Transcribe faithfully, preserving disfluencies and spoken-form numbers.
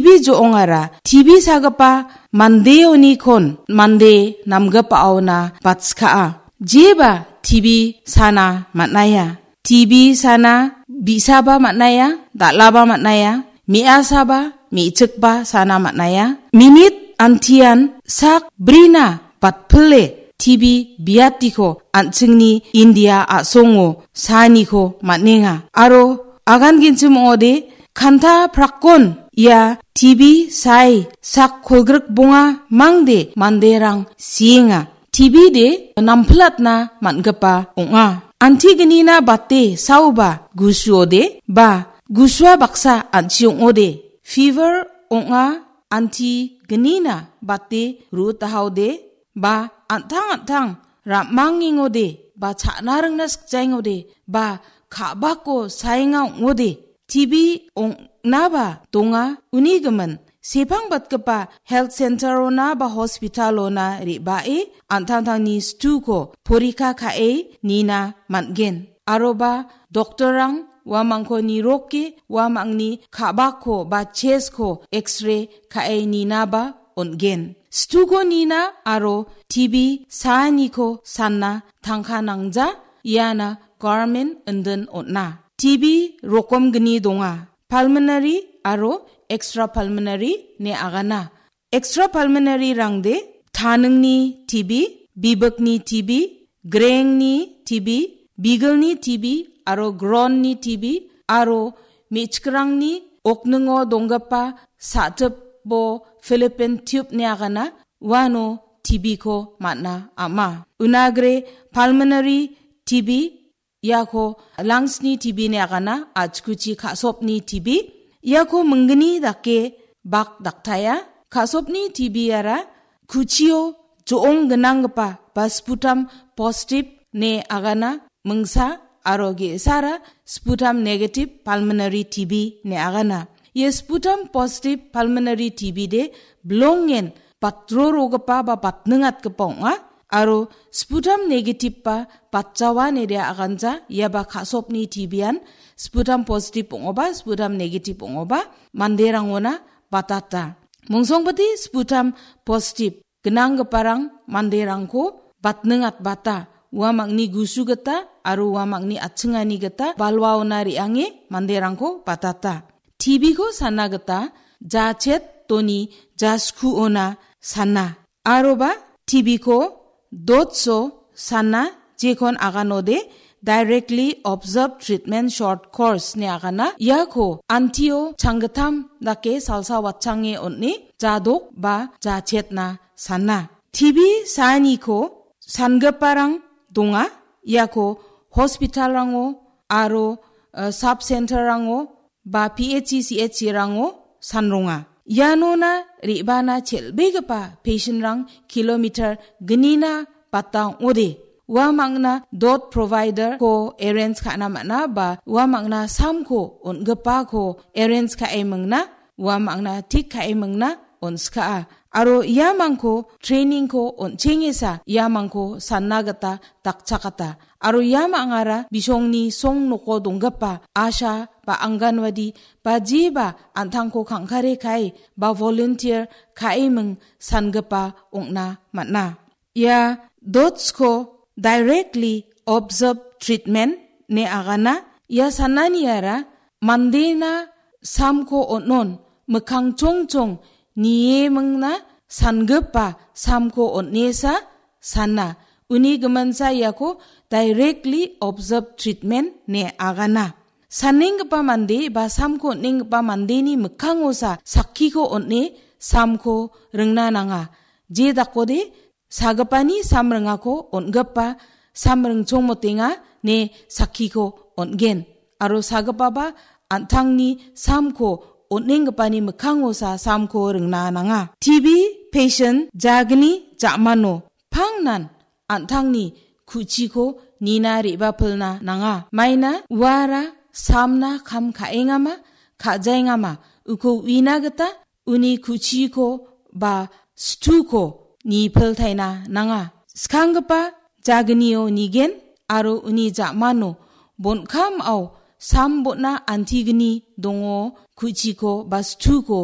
Bi jo·ongara T B sagipa mandeonikon mande namgipaona batskaa. Jeba T B sana man·aia. T B sana bi·saba man·aia, dal·aba man·aia, me·asaba, me·chikba sana man·aia. Minit antian sak brina batpile T B biatiko an·chingni India a·songo saaniko man·enga. Aro agan ginchim ong·ode kanta prakkon ia T B sae sak kolgrik bonga mangde manderang sienga. T B de nampilatna man·gipa ong·a. Antignina bate saoba gusuode ba gusua baksa an·chi ong·ode. Fever ong·a antignina bate ru·tahaode ba an·tang an·tang ra·mangengode ba cha·na ringna sikjaengode ba ka·bako saenga ong·ode. T B ong·naba donga uni gimin. Sepangbatgipa health center-ona ba hospital-ona re·bae an·tangtangni situko porika ka·e nina man·gen. Aroba doktorrang uamangko niroke uamangni ka·bako ba chest-ko X-ray ka·e ninaba on·gen. Situko nina aro T B saaniko sanna tangka nangja iana government indin on·a. T B rokomgni donga. Pulmonary aro extrapulmonary ne agana. Extrapulmonary rangde taningni T B, bibikni T B, grengni T B, bigilni T B aro gronni T B aro me·chikrangni okningo donggipa sa·tipo Philippine tube ne agana uano T B ko man·a ama. Unagre pulmonary T B iako lungs-ni T B ne agana, a·chikuchi ka·sopni T B. Iako minggni dake bak daktaia. Ka·sopni T B-ara kuchio jo·ong gnanggipa ba sputum positive ne agana mingsa aro ge·sara sputum negative pulmonary T B ne agana. Ia sputum positive pulmonary T B de bilongen batrorogipa ba batningatgipa ong·a. Aro sputum negative ba batjawa nede aganja, iaba ka·sopni T B-an sputum positive ong·oba, sputum negative ong·oba, manderangona batata. Mongsongpati sputum positive gnanggiparang manderangko batningatbata, uamangni gusu gita aro uamangni atchingani gita balwaona re·ange manderangko batata. T B ko sana gita jachet toni jaskuona sana. Aroba T B ko dotso sana jekon aganode directly observed treatment short course ne agana. Iako antio changgittam dake salsa watchange on·e jadok ba jachetna sana. T B saaniko sangiparang donga. Iako hospital-rango aro, eh, sub center-rango ba P H C, C H C-rango sanronga. Ianona re·bana chel·begipa patient-rang kilometer gnina bata ong·ode. Uamangna dot provider-ko arrange ka·na man·a ba uamangna samko on·gipako arrange ka·e mingna, uamangna tik ka·e mingna on·skaa. Aro iamangko training-ko on·chengesa iamangko sanna gita dakchakata. Aro ia mangara bisongni song noko donggipa asha ba anganwadi ba jeba an·tangko kangkare kae ba volunteer ka·eming sangipa ong·na man·a. Ia dotsko directly observe treatment ne agana. Ia sananiara mandena samko on·on mikkang chongchong niemingna sangipa samko on·esa sana. Uni giminsa iako directly observe treatment ne agana. Sanenggipa mande ba samko on·enggipa mandeni mikkangosa sakkiko on·e samko ringna nanga. Je dakode sagipani sam ringako on·gipa sam ringchongmotenga ne sakkiko on·gen. Aro sagipaba an·tangni samko on·enggipani mikkangosa samko ringna nanga. T B patient jagni ja·mano pangnan an·tangni ku·chiko nina re·bapilna nanga. Maina uara samna kam ka·engama, ka·jaengama, uko uina gita uni ku·chiko ba situko nipiltaina nanga. Skanggipa jagnio nigen aro uni ja·mano bon·kamao sam bon·a antigni dongo ku·chiko ba situko